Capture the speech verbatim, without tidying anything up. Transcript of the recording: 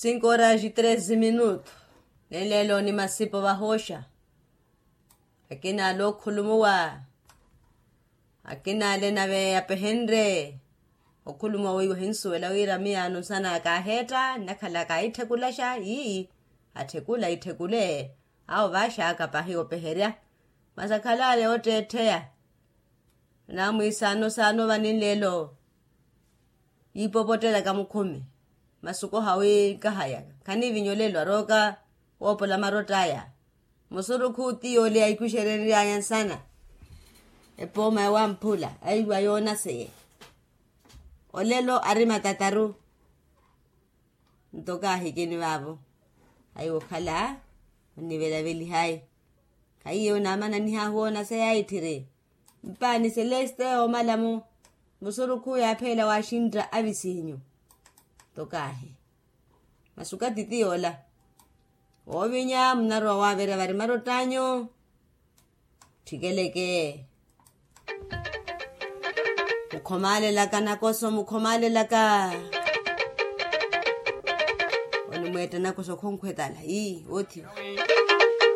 Cinco horas e treze minuto. Nenleelo ni masipo vahooxa. Akina ale okhulumuwa. Akina ale nave apehenrye okhulumuwa wiiwa ohinsuwela wira miyaano nsana kaaheetta nnakhala kaahitthekulaxa ii. Atthekula itthekule. Awo vaaxaka pahi opeherya. Masi akhala ale ootteettheya. Naamwiisaano saano vaninleelo. Yiipopottelaka mukhumi. Masuku hawi kahayaka khaniivinya olelo arooka. Woopola marott'aya. Musurukhu ti yoole aikuxerenry'aya nsana. Epooma yawamphula aiwa yoonaseye. Olelo ari matataru. Nto kaahikini vaavo. Aiwa okhala onivelavelihayi. Khaiye onaamana nihaahu woonaseya itthiri. Mpaani seleste omala-mo. Musurukhu yaapheela waaxintta avisinyu. Tokaahi. Masuka titi yoola. Woovinya munarowa waaverya vari marott'anyu. Ttikeleke. Mukhomaalelaka nakoso mukhomaalelaka. Onimweetta nakoso khonkhwetala ii woothiwa.